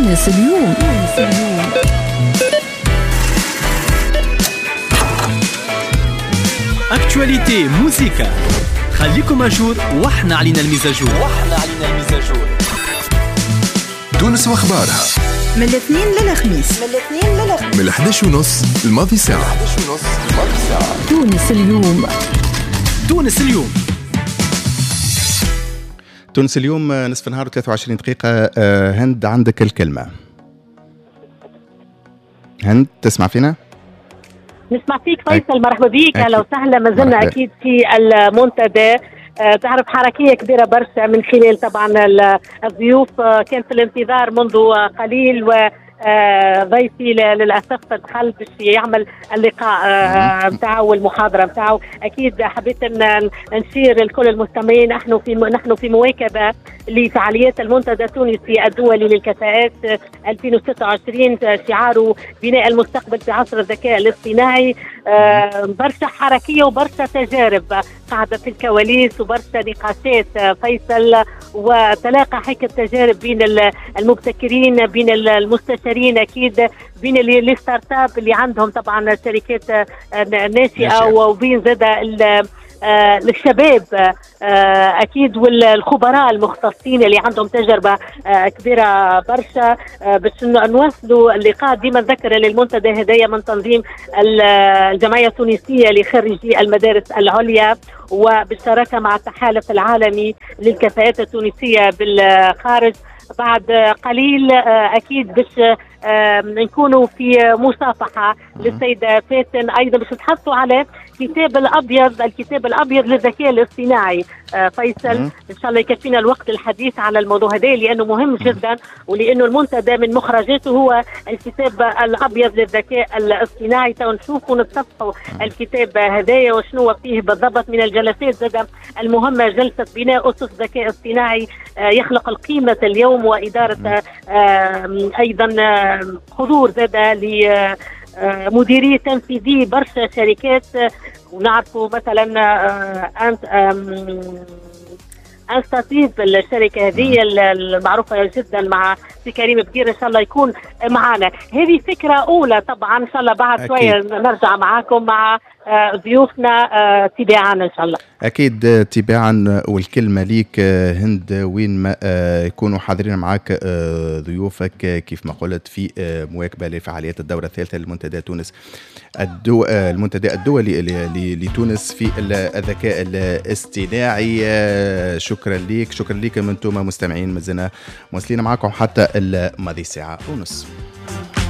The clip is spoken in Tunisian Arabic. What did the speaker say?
تونس اليوم. actualité موزيكا، خليكم à jour واحنا علينا ال mise à jour. تونس واخبارها من الاثنين للخميس، من 11:30 الماضي ساعة. تونس اليوم. تونس اليوم. تونس اليوم، نصف نهار 23 دقيقة. هند عندك الكلمة. هند تسمع فينا؟ نسمع فيك فيصل، مرحبا بيك، اهلا وسهلا. ما زلنا اكيد في المنتدى، تعرف حركية كبيرة برشا من خلال طبعا الضيوف. كان في الانتظار منذ قليل و ضيفي للاسف دخل باش يعمل اللقاء نتاعو والمحاضره نتاعو. اكيد حبيت ان نشير لكل المستمعين، نحن في مواكبة لفعاليات المنتدى التونسي الدولي للكفاءات 2026، شعاره بناء المستقبل في عصر الذكاء الاصطناعي. برشا حركية وبرشا تجارب قاعدة في الكواليس وبرشا نقاشات فيصل، وتلاقى هيك التجارب بين المبتكرين، بين المستشارين، اكيد بين les startups اللي عندهم طبعا شركات ناشئة، وبين زاد الشباب اكيد والخبراء المختصين اللي عندهم تجربه كبيرة برشا. باش نواصلوا اللقاء، ديما نذكر للمنتدى هدايا من تنظيم الجمعية التونسية لخريجي المدارس العليا وبالشراكه مع التحالف العالمي للكفاءات التونسية بالخارج. بعد قليل اكيد باش نكونوا في مصافحه للسيدة فاتن، ايضا باش نتحدثوا على الكتاب الابيض، الكتاب الابيض للذكاء الاصطناعي. فيصل ان شاء الله يكفينا الوقت الحديث على الموضوع هذا لانه مهم جدا، ولانه المنتدى من مخرجاته هو الكتاب الابيض للذكاء الاصطناعي. تو نشوفوا ونتصفحوا الكتاب هذايا وشنو فيه بالضبط. من الجلسات زاد المهمة جلسه بناء اسس ذكاء اصطناعي يخلق القيمة اليوم، واداره ايضا حضور زاد لمديري تنفيذي برشا شركات، ونعرفوا مثلا انستاتيف الشركة هذه المعروفة جدا مع سي كريم بكير، ان شاء الله يكون معنا. هذه فكرة اولى طبعا، ان شاء الله بعد شوية نرجع معاكم مع ضيوفنا تباعا ان شاء الله. اكيد تباعا، والكلمة ليك هند وين ما يكونوا حاضرين معاك ضيوفك كيف ما قلت في مواكبة لفعاليات الدورة الثالثة للمنتدى تونس المنتدى الدولي لتونس في الذكاء الاصطناعي. شكرا ليك، شكرا لكم انتم مستمعين، مازلنا مواصلين معاكم حتى الماضي ساعة ونص.